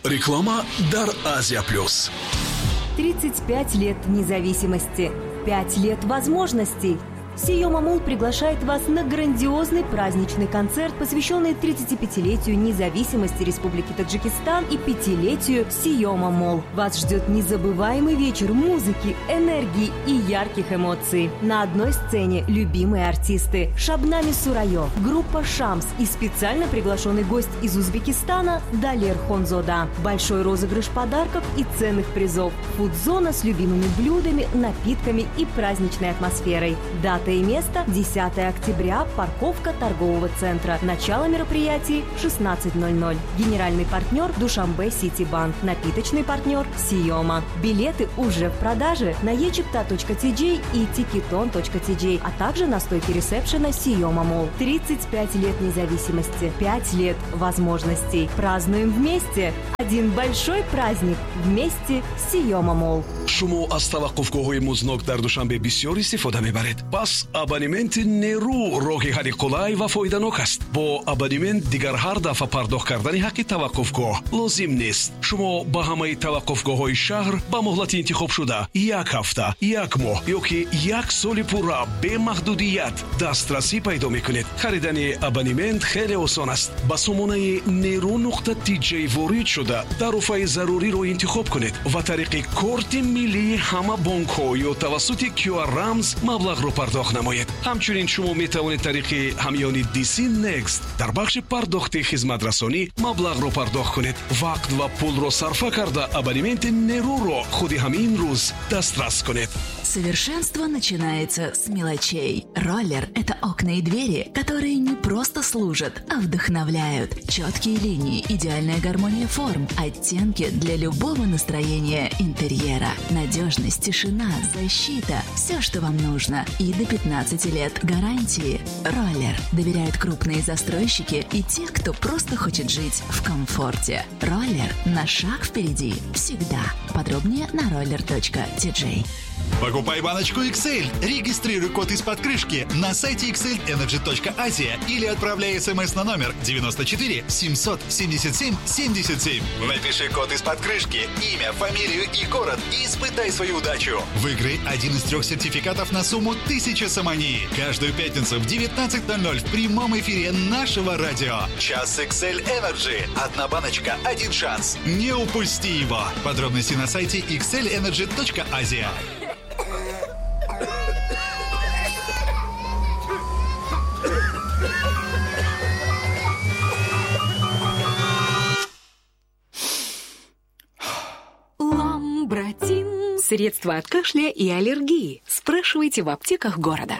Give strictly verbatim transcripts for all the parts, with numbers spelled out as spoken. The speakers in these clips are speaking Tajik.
Реклама дар Азия Плюс. тридцать пять лет независимости, пять лет возможностей. Сиёма Молл приглашает вас на грандиозный праздничный концерт, посвященный тридцатипятилетию независимости Республики Таджикистан и пятилетию Сиёма Молл. Вас ждет незабываемый вечер музыки, энергии и ярких эмоций. На одной сцене любимые артисты Шабнами Сурайо, группа «Шамс» и специально приглашенный гость из Узбекистана Далер Хонзода. Большой розыгрыш подарков и ценных призов. Фудзона с любимыми блюдами, напитками и праздничной атмосферой. Дата и место десятое октября, парковка торгового центра. Начало мероприятий шестнадцать ноль ноль. Генеральный партнер Душанбе Сити Банк. Напиточный партнер Сиёма. Билеты уже в продаже на е чипта точка ти джей и тикетон точка ти джей, а также на стойке ресепшена Сиёма Молл. тридцать пять лет независимости, пять лет возможностей. Празднуем вместе. Один большой праздник вместе с Сиёма Молл. Шумо аз таваққуфгоҳҳои музнок дар Душанбе бисёр истифода мебаред. Пас абонементи нерӯ роҳи ҳалли қулай ва фоиданок аст. Бо абонемент дигар ҳар дафъа пардохт кардани ҳаққи таваққуфгоҳ лозим нест. Шумо ба ҳамаи таваққуфгоҳҳои шаҳр ба муҳлати интихобшуда як ҳафта, як моҳ ё ки як соли пурра бемаҳдудият дастрасӣ пайдо мекунед. Харидани абонемент хеле осон аст. Ба сомонаи нерӯ нуқта ти ҷей ворид шуда тарофаи заруриро интихоб кунед ва тариқи корти миллии ҳама бонкҳо ё тавассути Q R рамз маблағро пардохт намоед. Ҳамчунин шумо метавонед тариқи ҳамёни ди си Next дар бахши пардохти хизматрасонӣ маблағро пардохт кунед. Вақт ва пулро сарфа карда абонементи нерӯро худи ҳамин рӯз дастрас кунед. Совершенство начинается с мелочей. Роллер – это окна и двери, которые не просто служат, а вдохновляют. Четкие линии, идеальная гармония форм, оттенки для любого настроения интерьера. Надежность, тишина, защита – все, что вам нужно. И до пятнадцати лет гарантии. Роллер доверяют крупные застройщики и те, кто просто хочет жить в комфорте. Роллер на шаг впереди всегда. Подробнее на роллер точка ти джей. Покупай баночку икс эль, регистрируй код из-под крышки на сайте икс эль энерджи точка азия или отправляй смс на номер девяносто четыре семьсот семьдесят семь семьдесят семь. Напиши код из-под крышки, имя, фамилию и город и испытай свою удачу. Выиграй один из трех сертификатов на сумму тысяча сомони. Каждую пятницу в девятнадцать ноль ноль в прямом эфире нашего радио. Час икс эль Energy. Одна баночка, один шанс. Не упусти его. Подробности на сайте икс эль энерджи точка азия. Ламбратин. Средства от кашля и аллергии. Спрашивайте в аптеках города.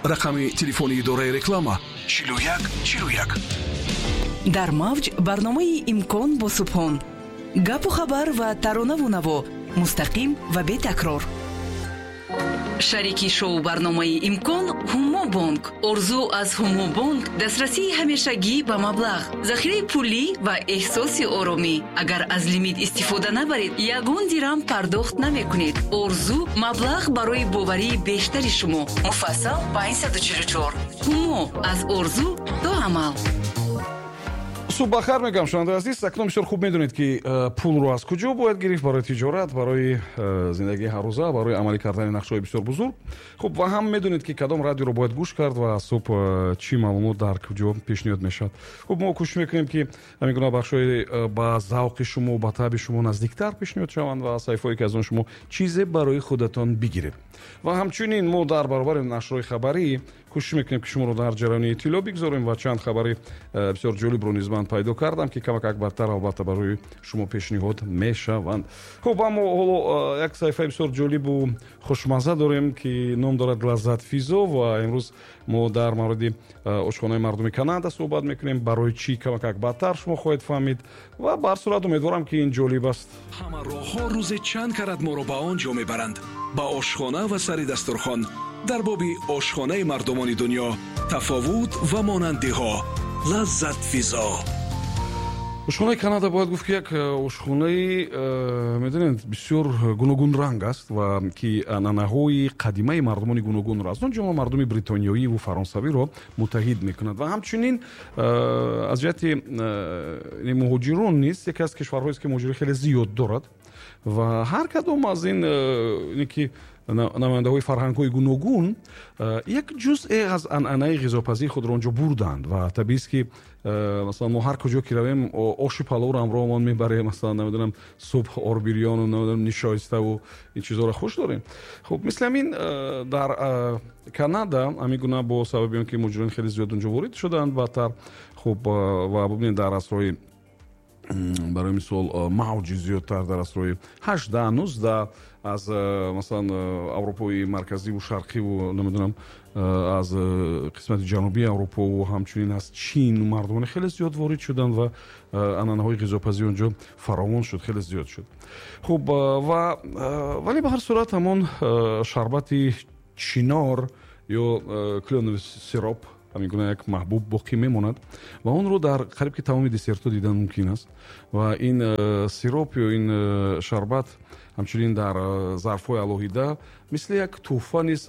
Рақами телефони идораи реклама чилу як чилу як. Дар мавҷ барномаи имкон бо Субҳон. Гапу хабар ва таронаву наво мустақим ва бетакрор. Шарики шоу барномаи имкон Ҳумобонк. Орзу аз Ҳумобонк дастрасии ҳамешагӣ ба маблағ, захираи пулӣ ва эҳсоси оромӣ. Агар аз лимит истифода набаред, ягон дирам пардохт намекунед. Орзу маблағ барои боварии бештари шумо. Муфассал панҷсаду чилу чор. Ҳумо аз орзу то амал. Субҳ бахайр мегӯям, шунавандаи азиз. Акнун бисёр хуб медонед, ки пулро аз куҷо бояд гирифт барои тиҷорат, барои зиндагии ҳаррӯза, барои амалӣ кардани нақшаҳои бисёр бузург. Хуб, ва ҳам медонед, ки кадом радиоро бояд гӯш кард ва субҳ чӣ маълумот дар куҷо пешниҳод мешавад. Хуб, мо кӯшиш мекунем, ки ҳамин гуна бахшҳои ба завқи шумо, ба таъби шумо наздиктар пешниҳод шаванд ва саҳифаҳое, ки аз он шумо чизе барои худатон бигиред. Ва ҳамчунин мо дар баробари нашрҳои хабарӣ кӯшиш мекунем, ки шуморо дар ҷараёни иттилоъ бигзорем ва чанд хабари бисёр ҷолибро низ ман пайдо кардам, ки камакак бадтар албатта барои шумо пешниҳод мешаванд. Хуб, аммо ҳоло як саҳифаи бисёр ҷолибу хушмазза дорем, ки ном дорад Лаззат Физо, ва имрӯз мо дар мавриди ошхонаи мардуми Канада суҳбат мекунем. Барои чӣ камакак бадтар шумо хоҳед фаҳмид ва ба ҳар сурат умедворам, ки ин ҷолиб аст. Ҳама роҳҳо рӯзе чанд карат моро ба он ҷо мебаранд, ба ошхона ва сари дастурхон. Дар боби ошхонаи мардумони дунё, тафовут ва монандиҳо. Лаззат Физо. Ошхонаи Канада бояд гуфт, ки як ошхонаи, медонед, бисёр гуногунранг аст ва ки анъанаҳои қадимаи мардумони гуногунро, аз он ҷумла мардуми бритониёиву фаронсавиро муттаҳид мекунад. Ва ҳамчунин аз ҷиҳати муҳоҷирон низ яке аз кишварҳоест, ки муҳоҷири хеле зиёд дорад ва ҳар кадом аз ин ки намояндаҳои фарҳангҳои гуногун як ҷузъе аз анъанаи ғизопазии худро онҷо бурданд. Ва табиист, ки масалан мо ҳар куҷо ки равем, оши паловро ҳамроҳамон мебарем, масалан, намедонам, субҳ орбирёну, намедонам, нишоиставу ин чизҳоро хуш дорем. Хуб, мисли ҳамин дар Канада ҳамин гуна, бо сабаби он ки муҳоҷирон хеле зиёд онҷо ворид шуданд баъдтар. Хуб, ва бубинед, дар асрҳои, барои мисол, мавҷи зиёдтар дар асрҳои ҳаждаҳ, нуздаҳ аз, масалан, Аврупои марказиву шарқиву, намедонам, аз қисмати ҷанубии Аврупову ҳамчунин аз Чин мардумони хеле зиёд ворид шуданд ва анъанаҳои ғизопазӣ онҷо фаровон шуд, хеле зиёд шуд. Хуб, ва вале ба ҳар сурат ҳамон шарбати чинор ё клёновый сироп ҳамин гуна як маҳбуб боқӣ мемонад ва онро дар қариб ки тамоми десертҳо дидан мумкин аст. Ва ин сироп ё ин шарбат ҳамчунин дар зарфҳои алоҳида мисли як тӯҳфа низ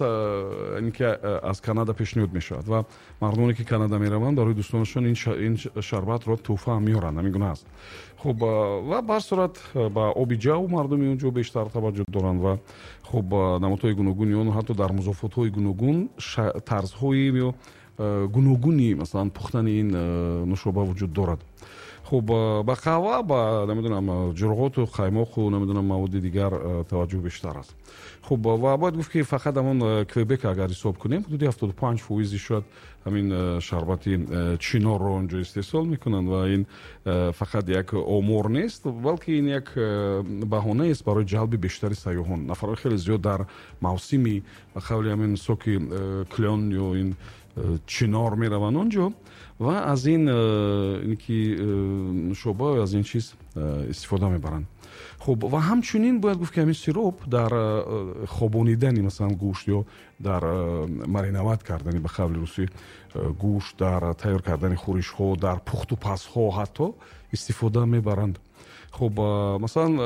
ки аз Канада пешниҳод мешавад ва мардумоне ки Канада мераванд, барои дӯстонашон ин шарбатро тӯҳфа ҳам меоранд. Ҳамин гуна аст. Хуб, ва ба ҳар сурат ба оби ҷав мардуми он ҷо бештар таваҷҷӯҳ доранд ва хуб, намудҳои гуногуни он, ҳатто дар музофотҳои гуногун, тарзҳои ё гуногуни, масалан, пухтани ин нушоба вуҷуд дорад. Хуб, ба қаҳва, ба, намедонам, ҷурғоту қаймоқу, намедонам, маводи дигар таваҷҷӯҳ бештар аст. Хуб, ва бояд гуфт, ки фақат ҳамон Квебек агар ҳисоб кунем, ҳудуди ҳафтоду панҷ фоизи шояд ҳамин шарбати чинорро онҷо истеҳсол мекунанд ва ин фақат як омор нест, балки ин як баҳонаест барои ҷалби бештари сайёҳон. Нафарҳои хеле зиёд дар мавсими, ба қавли ҳамин соки клён ё ин чинор мераванд онҷо ва аз ин ки нушоба, аз ин чиз истифода мебаранд. Хуб, ва ҳамчунин бояд гуфт, ки ҳамин сироп дар хобонидани, масалан, гӯшт ё дар мариноват кардани, ба қавли русӣ, гӯшт, дар тайёр кардани хӯришҳо, дар пухтупазҳо ҳатто истифода мебаранд. Хуб, масалан,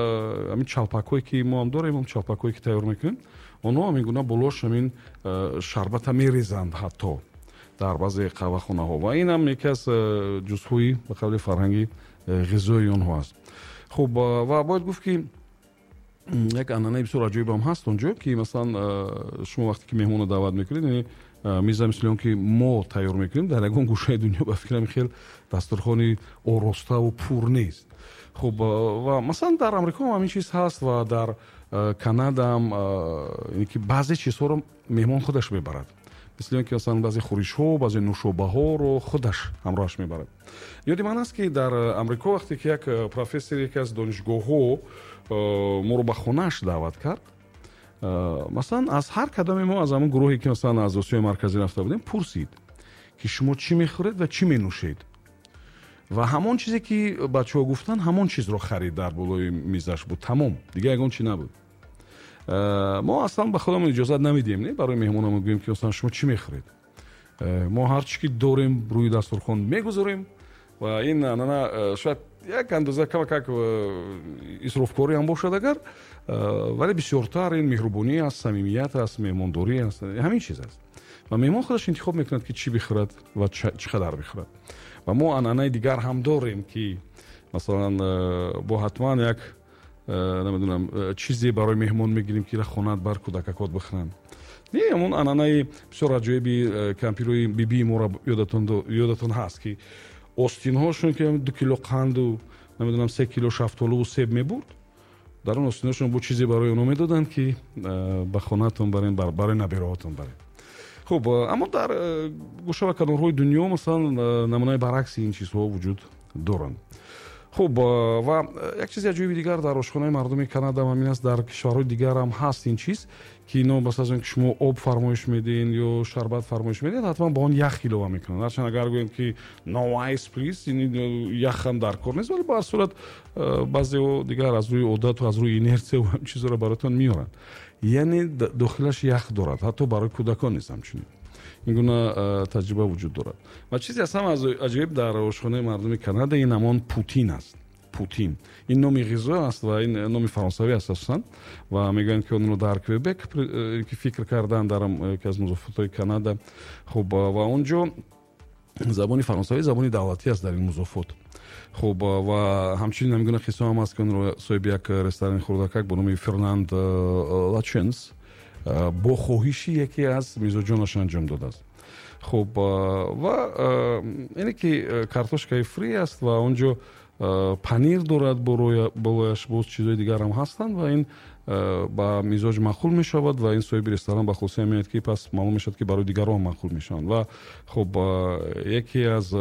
ҳамин чалпакҳое ки мо ҳам дорем, ҳам чалпакҳое ки тайёр мекунем, онҳо ҳамин гуна болош ҳамин шарбата мерезанд ҳатто дар баъзе қаҳвахонаҳо ва ин ҳам яке аз ҷузъҳои, ба қавли, фарҳанги ғизои онҳо аст. Хуб, ва бояд гуфт, ки як анъанаи бисёр аҷоиб ҳам ҳаст онҷо, ки масалан шумо вақте ки меҳмонро даъват мекунед, яъне миза мисли он ки мо тайёр мекунем, дар ягон гӯшаи дунё, ба фикрам, хел дастурхони ороставу пур нест. Хуб, ва масалан дар Амрико ҳам ҳамин чиз ҳаст ва дар Канада ҳам, ки баъзе чизҳоро меҳмон худаш мебарад, мисли он ки масалан баъзе хӯришҳо, баъзе нушобаҳоро худаш ҳамроҳаш мебарад. Ёди ман аст, ки дар Амрико вақте ки як профессор яке аз донишгоҳҳо моро ба хонааш даъват кард, масалан, аз ҳар кадоме мо аз ҳамон гурӯҳе ки, масалан, аз Осиёи Марказӣ рафта будем, пурсид, ки шумо чӣ мехӯред ва чӣ менӯшед, ва ҳамон чизе ки бачаҳо гуфтанд, ҳамон чизро харид, дар болои мизаш буд, тамом, дигар ягон чи набуд. Мо аслан ба худамон иҷозат намедиҳем, не, барои меҳмонамон гӯем, ки масалан шумо чӣ мехӯред. Мо ҳар чӣ ки дорем, рӯи дастурхон мегузорем ва ин анъана шояд як андоза камакак исрофкорӣ ҳам бошад агар, вале бисёртар ин меҳрубонӣ аст, самимият аст, меҳмондорӣ аст, ҳамин чиз аст. Ва меҳмон худаш интихоб мекунад, ки чӣ бихӯрад ва чӣ қадар бихӯрад. Ва мо анъанаи дигар ҳам дорем, ки масалан бо ҳатман як, намедонам, чизе барои меҳмон мегирем, ки хонат бар кӯдакакот бихӯранд. Не, ҳамон анъанаи бисёр аҷоиби кампирои бибии моро ёдатон ҳаст, ки остинҳошон ки ду кило қанду, намедонам, се кило шафтолуву себ мебурд, дар он остинҳошон бо чизе барои онҳо медоданд, ки ба хонаатон барен, барои набераҳотон барен. Хуб, аммо дар гӯша ва канорҳои дунё, масалан, намунаи баръакси ин чизҳо вуҷуд доранд. Хуб, ва як чизи аҷоиби дигар дар ошхонаи мардуми Канада ҳам ҳамин аст, дар кишварҳои дигар ҳам ҳаст ин чиз, ки ино бас аз он ки шумо об фармоиш медиҳед ё шарбат фармоиш медиҳед, ҳатман ба он ях илова мекунанд. Ҳарчанд агар гӯем, ки no ice please, ях ҳам дар кор нест, вале ба ҳар сурат баъзеҳо дигар аз рӯи одату аз рӯи инерсия ва ҳамин чизҳоро бароятон меоранд. Яъне дохилаш ях дорад, ҳатто барои кӯдакон низ ҳамчунин. Ин гуна таҷриба вуҷуд дорад. Ва чизе аз ҳама аҷоиб дар ошхонаи мардуми Канада ин ҳамон путин аст. Путин ин номи ғизо аст ва ин номи фаронсавӣ аст асосан, ва мегӯянд, ки онро дар Квебек ки фикр карданд, дар яке аз музофотҳои Канада. Хуб, ва он ҷо забони фаронсавӣ забони давлатӣ аст дар ин музофот. Хуб, ва ҳамчунин ҳамин гуна қисса ҳам аст, ки онро соҳиби як ресторани хурдакак бо номи Фернанд Лаченс бо хоҳиши яке аз мизоҷонаш анҷом додааст. Хуб, ва ине ки картошкаи фри аст ва он ҷо панир дорад, болояш боз чизҳои дигар ҳам ҳастанд ва ин ба мизоҷ маъқул мешавад ва ин соҳиби ресторан ба хулоса меояд, ки пас маълум мешавад, ки барои дигарон маъқул мешаванд. Ва хуб, яке аз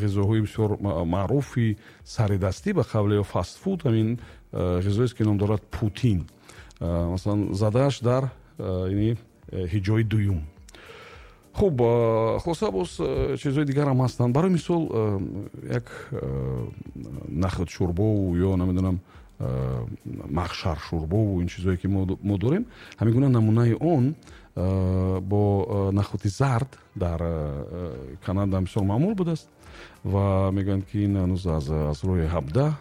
ғизоҳои бисёр маъруфи саридастӣ ба қавле ё фастфуд ҳамин ғизоест, ки ном дорад путин. Масалан, задааш дар ини ҳиҷои дуюм. Хуб, хулоса боз чизҳои дигар ҳам ҳастанд. Барои мисол, як нахӯд шӯрбову ё намедонам махшар шӯрбову ин чизҳое, ки мо дорем, ҳамин гуна намунаи он бо нахӯди зард дар Канада бисёр маъмул будааст ва мегӯянд, ки ин ҳанӯз аз аз рӯи ҳабдаҳ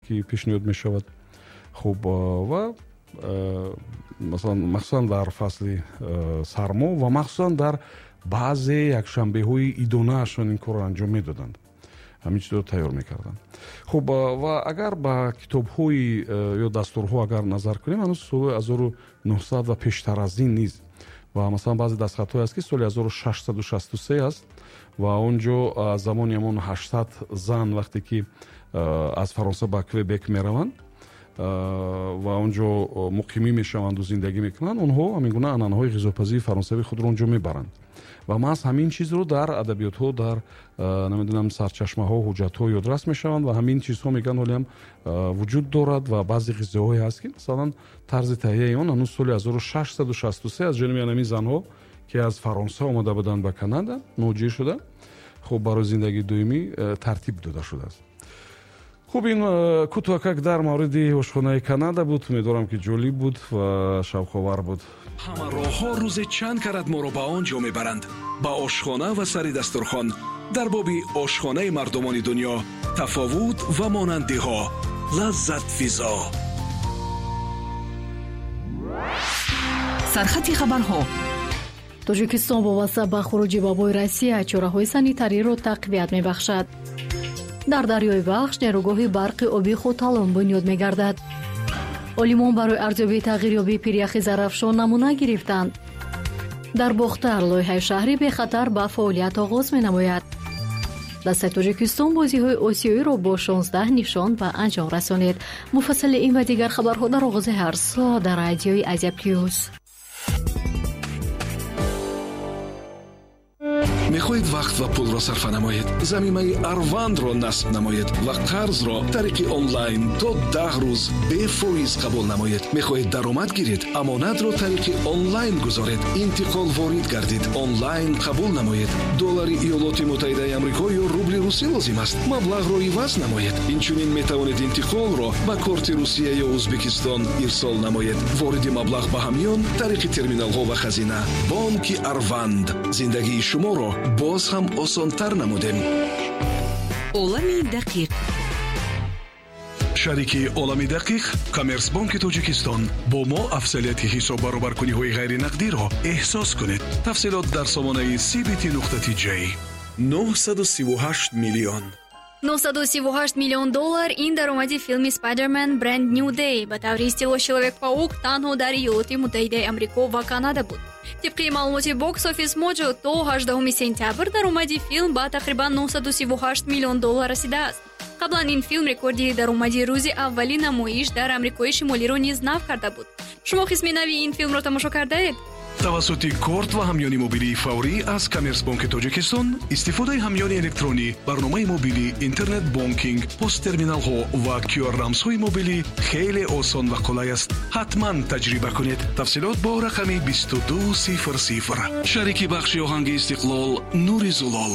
ки пешниҳод мешавад. Хуб, ва масалан, махсусан дар фасли сармо ва махсусан дар баъзе якшанбеҳои идонаашон ин корро анҷом медоданд, ҳамин чизро тайёр мекарданд. Хуб, ва агар ба китобҳои ё дастурҳо агар назар кунем, ҳанӯз соли ҳазору нӯҳсад ва пештар аз ин низ, ва масалан баъзе дастхатҳое аст, ки соли ҳазору шашсаду шасту се аст ва он ҷо аз замони ҳамон ҳаштсад зан вақте ки аз Фаронса ба Квебек мераванд ва он ҷо муқимӣ мешаванду зиндагӣ мекунанд, онҳо ҳамин гуна анъанаҳои ғизопазии фаронсавии худро он ҷо мебаранд ва маҳз ҳамин чизро дар адабиётҳо, дар намедонам сарчашмаҳо, ҳуҷҷатҳо ёдрас мешаванд ва ҳамин чизҳо мегӯянд ҳолиам вуҷуд дорад. Ва баъзе ғизоҳое ҳаст, ки масалан тарзи таҳияи он ҳанӯз соли ҳазору шашсаду шасту се аз ҷониби ҳамин занҳо, ки аз Фаронса омада буданд ба Канада, муҳоҷир шуда, хуб, барои зиндагии доимӣ тартиб дода шудааст. Хуб, ин кӯтоҳакак дар мавриди ошхонаи Канада буд. Умедворам, ки ҷолиб буд ва шавқовар буд. Ҳама роҳҳо рӯзе чанд карат моро ба он ҷо мебаранд, ба ошхона ва сари дастурхон. Дар боби ошхонаи мардумони дунё, тафовут ва монандиҳо, лаззатфизо. Сархати хабарҳо. Тоҷикистон вобаста ба хуруҷи вабои Россия чораҳои санитариро тақвият мебахшад. Дар дарёи Вахш нерӯгоҳи барқи обии Хоталон бунёд мегардад. Олимон барои арзёбии тағйирёбии пиряхи Зарафшон намуна гирифтанд. Дар Бохтар лоиҳаи шаҳри бехатар ба фаъолият оғоз менамояд. Дастаи Тоҷикистон бозиҳои осиёиро бо шонздаҳ нишон ба анҷом расонид. Муфассали ин ва дигар хабарҳо дар оғози ҳар соат дар радиои Азия Плюс. Мехоҳед вақт ва пулро сарфа намоед? Замимаи Арвандро насб намоед ва қарзро тариқи онлайн то даҳ рӯз бефоиз қабул намоед. Мехоҳед даромад гиред? Амонатро тариқи онлайн гузоред. Интиқол ворид гардид, онлайн қабул намоед. Доллари Иёлоти Муттаҳидаи Амрико ё рубли русӣ лозим аст? Маблағро иваз намоед. Инчунин метавонед интиқолро ба корти Русия ё Ӯзбекистон ирсол намоед. Вориди маблағ ба ҳамён тариқи терминалҳо ва хазина. Бонки Арванд зиндагии шуморо боз ҳам осонтар намудем. Олами дақиқ. Шарики Олами дақиқ Коммерсбонки Тоҷикистон. Бо мо афзалияти ҳисоббаробаркуниҳои ғайринақдиро эҳсос кунед. Тафсилот дар сомонаи си би ти нуқта ти ҷей. нӯҳсаду сиву ҳашт миллион. нӯҳсаду сиву ҳашт миллион доллар ин даромади филми Spider-Man Brand New Day ба таври истилоҳ Человек-паук танҳо дар Иёлоти Муттаҳидаи Амрико ва Канада буд. Тибқи маълумоти Box Office Mojo, то ҳаждаҳуми сентябр даромади филм ба тақрибан нӯҳсаду сиву ҳашт миллион доллар расидааст. Қаблан ин филм рекорди даромади рӯзи аввали намоиш дар Амрикои Шимолиро низ нав карда буд. Шумо қисми нави ин филмро тамошо кардаед? Тавассути корт ва ҳамёни мобилии фаврӣ аз Коммерсбонки Тоҷикистон истифодаи ҳамёни электронӣ, барномаи мобилӣ, интернет-бонкинг, посттерминалҳо ва Q R рамзҳои мобилӣ хеле осон ва қулай аст. Ҳатман таҷриба кунед. Тафсилот бо рақами бисту ду сифр сифр. Шарики бахши оҳанги Истиқлол Нури Зулол.